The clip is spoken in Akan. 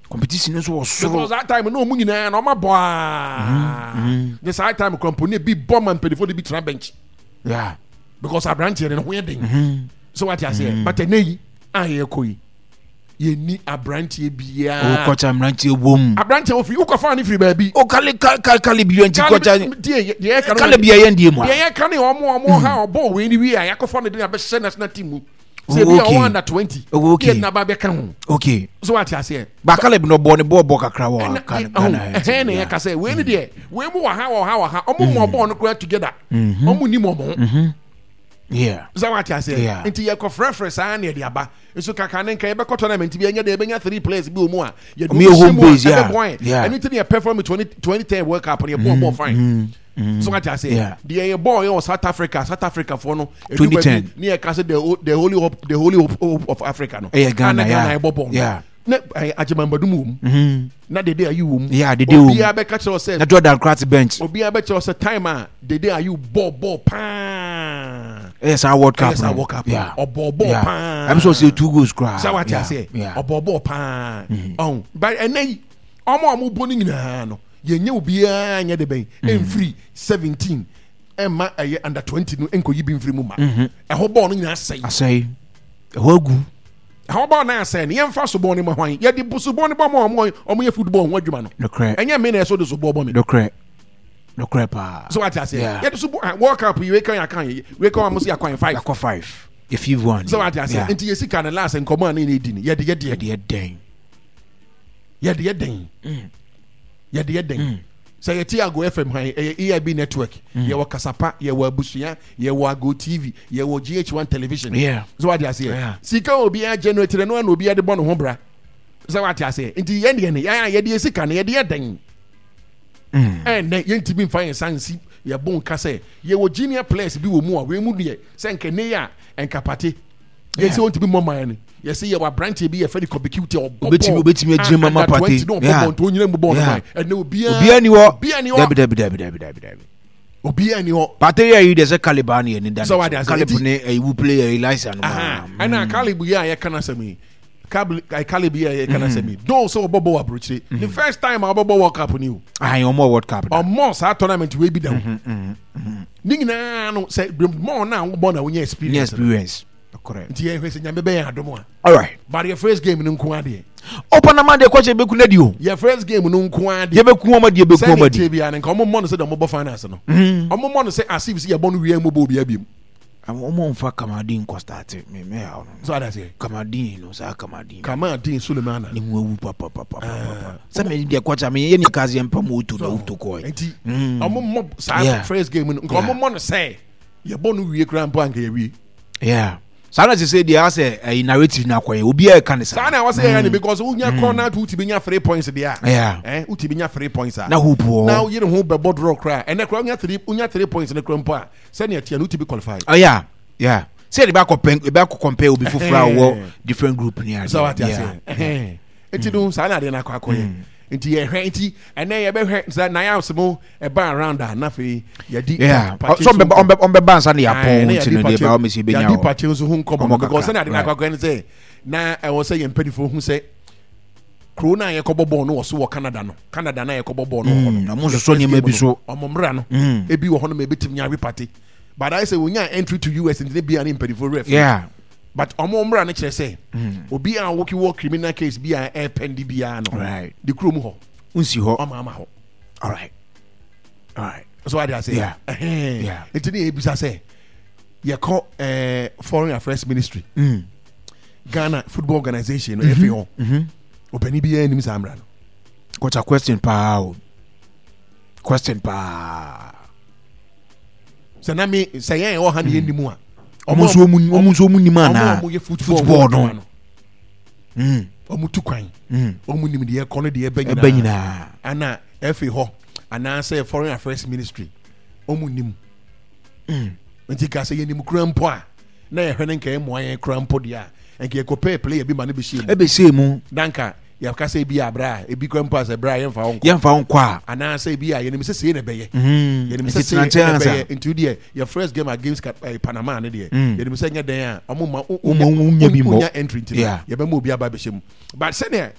Competition nso wɔ soro. Because that time no ɔmo nyinaa na ɔmo abɔ aa. Ne saa time kura mpo ne bi bɔ ma mpanyinfoɔ de bi tena bench. Because aberanteɛ no ne ho yɛ den. So wate aseɛ. But ɛnɛ yi a yɛkɔ yi, yɛnni aberanteɛ biara. Wokɔkya mmeranteɛ wom. Aberanteɛ ofiri wokɔfa ne firi baabi. O kale kale kale bi yɛn ti kɔkya. Deɛ yɛka no. Kale bi yɛn die mu a. Deɛ yɛka ne ɔmo ha ɔbɔ wei ni wie a yɛakɔfa ne de abɛhyɛ national team mu. Sɛ ebi a ɔwɔ under 20. Okay. Yɛ naba bɛka ho. Okay. So wate aseɛ. Ba Caleb no bɔ ne bɔ bɔ kakra wɔ Ghana. Ɛhɛn na yɛka sɛ wei ni deɛ wei mu wɔ ha wɔ ha wɔ ha, ɔmo mɔ bɔɔl no koraa together. Ɔmo nim ɔmo ho. Sɛ wate aseɛ. Nti yɛkɔ frɛfrɛ saa na yɛde aba. Nso kaka ne nka yɛbɛkɔ tournament bi, ɛnyɛ deɛ yɛbɛnya three players bi wɔ mu a yɛde ɔmo hyɛ mu a ɛbɛboa yɛn. Ɛno ti ne yɛ perform 2010 World Cup no, yɛbɔɔ bɔɔl fine. So wate aseɛ. Deɛ yɛ bɔɔl yɛ wɔ South Africa, South Africa foɔ no edu baabi ne yɛ ka sɛ the holy hope, the holy hope of Africa no. Ɛyɛ Ghana. Ghana yɛ bɔ bɔɔl no ne Agyemambadum wɔ mu na Dede Ayew wɔ mu. Yeah, Dede wɔ mu. Obiara bɛka kyerɛ sɛ na Jordan Krat bench. Obiara bɛkyerɛ sɛ time a Dede Ayew bɔɔ bɔɔl paa. Ɛyɛ saa World Cup. Ɛyɛ saa World Cup. Ɔbɔɔ bɔɔl paa. Ɛmi sɛ ɔsɛ two goals koraa. Sɛ wate aseɛ, ɔbɔɔ bɔɔl paa. Ɔn but ɛnɛ yi ɔmo a ɔmo bɔ no nyinaa no, yɛnyɛ obiara nyɛ de bɛn ɛnfiri 17 ɛma ɛyɛ under 20 no nkɔyi bi mfiri mu ma ɛhɔ bɔɔl no nyinaa asɛe. Asɛe, ɛhɔ agu. Ɛhɔ bɔɔl no asɛe no, yɛmfa sobɔɔ no ma hwan? Yɛde sobɔɔ no bɔ ma ɔmo ɔmo yɛ football ho adwuma no. Ɛnyɛ me na ɛso de sobɔɔ bɔ me. Nokorɛ, nokorɛ paa. So wate aseɛ. Yɛde sobɔɔ World Cup yi, wei kan yɛ akan wei kan wɔn so yɛ akwan five. Yɛakɔ five, yɛ fifth one. So wate aseɛ. Nti yɛ sika no last nkɔmɔ a ne yɛ di no, yɛde yɛ deɛ. Yɛde yɛ dɛn? Yɛde yɛ dɛn? Yɛde yɛ dɛn? Sɛ yɛte Ago FM han, ɛyɛ EIB network. Yɛwɔ Kasapa, yɛwɔ Abusua, yɛwɔ Ago TV, yɛwɔ GH1 television. So wate aseɛ. Sika obiara generate no na obiara de bɔ ne ho bra. Sɛ wate aseɛ. Nti yɛn deɛ no, yɛn a yɛde yɛ sika no, yɛde yɛ dɛn? Ɛnnɛ yɛntumi mfa yɛn nsa nsi yɛbo nka sɛ yɛwɔ junior players bi wɔ mu a wei mu deɛ sɛ nka ne yɛ a nka pate yɛsɛ wɔntumi mmɔ man no. Yɛsɛ yɛwɔ aberanteɛ bi yɛfɛ no Kɔbi Cute, ɔbɔ bɔɔl obetumi agyina mu ama pate na ɔbɔ bɔɔl nti onyina mu bɔɔl no man ɛnɛ obiara obiara ni hɔ. Obiara ni hɔ. Dabi, dabi, dabi, dabi, dabi, dabi. Obiara ni hɔ. Pate yɛ yi deɛ sɛ Caleb a ne yɛ ne da ne so Caleb ne ɛyi wu player Elisa no. Ɛna Caleb yi a yɛka n'asɛm yi, Caleb yi a yɛka n'asɛm yi dɔw sɛ ɔbɔ bɔɔl aburokyire ne first time a ɔbɛbɔ World Cup ni o. Ayi, ɔmɔ World Cup da. Ɔmɔ saa tournament wei bi da o. Ne nyinaa no sɛ mɔɔ na wobɔ na wonya experience. Experience. Nti yɛhwɛ sɛ Nyame bɛyɛ adom a. Alright. But yɛ first game no nko adeɛ. O Panama deɛ kɔkyɛ bɛku no adi o. Yɛ first game no nko adeɛ. Yɛbɛku wɔn adi, yɛbɛku wɔn adi. Sɛdeɛ bia no nka ɔmo mmɔ no sɛ deɛ ɔmo bɔ finals no. Ɔmo mmɔ no sɛ as if sɛ yɛbɔ no wie a ɔmo bɔ obiara biom. Ɔmo nfa Kamaldeen nkɔ start me me ha no. So ada sɛ. Kamaldeen no saa Kamaldeen. Kamaldeen Sulemana. Ne ho awu papapapa. Sɛ me deɛ kɔkyɛ me yɛ ne kaseɛ mpa mu oto na oto kɔɛ. Nti ɔmo mmɔ saa first game no nka ɔmo mmɔ no sɛ yɛbɔ no wie koraa mpo anka yɛwie. Yeah. Saa na sese deɛ asɛ ɛyi narrative na akɔyɛ obiara ɛka ne saa. Saa na wɔsɛ yɛyɛ ne because wonya corner to wotumi nya three points deɛ a. Wotumi nya three points a. Na hope wɔ. Na yere ho bɛbɔ draw koraa, ɛnɛ koraa wonya three points ne koraa mpo a, sɛnea teɛ no wotumi qualify. Oh yeah. Sɛ yɛde bɛ akɔ pɛn ebe akɔ compare obi foforɔ a ɔwɔ different group ni ade. Sɛ wate aseɛ. Nti no saa na adeɛ no akɔ akɔyɛ. Nti yɛhwɛ, nti ɛnɛ yɛbɛhwɛ sɛ nayams mo ɛba around a, na afei yɛdi so ɔmbɛba nsa ne yɛapɔn, nti no deɛ ba ɔmɛsi bɛnya. Yɛdi pakye nso ho nkɔmmɔ no because sɛnea ade no akɔ akɔyɛ no sɛ na ɛwɔ sɛ yɛn mpanimfoɔ hu sɛ kuro no a yɛkɔbɔ bɔɔl no wɔ so wɔ Canada no, Canada no a yɛkɔbɔ bɔɔl no wɔ hɔ no, ɔmo nsosɔ nneɛma bi so. Ɔmo mmra no ebi wɔ hɔ no ma ebetumi awe pate, but ayɛ sɛ wonya entry to US nti ne bia ne mpanimfoɔ werɛ fi, but ɔmo mmra no kyerɛ sɛ obi a wɔki wɔ criminal case bi a ɛpɛndi biara no de kurom hɔ nsi hɔ. Ɔmo ama hɔ. All right. So ade ase. Nti ne yɛbisa sɛ yɛkɔ Foreign Affairs Ministry, Ghana Football Organization no ɛfi hɔ, ɔpani biara anim saa mmara no. Kɔcha, question paa o, question paa. Sɛ na me sɛ yɛn ɛwɔ ha ne yɛnim a. Ɔmo nso ɔmo nim anaa? Ɔmo yɛ football no. Ɔmo tu kwan, ɔmo nim deɛ ɛkɔ no deɛ ɛbɛ ɛbɛ nyinaa. Ana ɛfi hɔ anaasɛ Foreign Affairs Ministry ɔmo nim? Nti ka sɛ yɛnim kura mpo a, na yɛhwɛ no nka ɛmmoa yɛn kura mpo deɛ a, nka yɛkɔpɛɛ player bi ma no bɛhyɛ mu. Ɛbɛhyɛ mu. Na nka yɛka sɛ ebi abrɛ a ebi kura mpo a sɛ brɛ a yɛmfa wo nkɔ. Yɛmfa wo nkɔ a. Anaasɛ ebi a yɛnim sɛ sei na ɛbɛyɛ. Yɛnim sɛ sei na ɛbɛyɛ, nti deɛ yɛ first game against Panama ne deɛ yɛnim sɛ nyɛ dɛn a ɔmo ma wonya bi mmɔ, wonya entry, nti yɛbɛma obi aba bɛhyɛ mu, but sɛdeɛ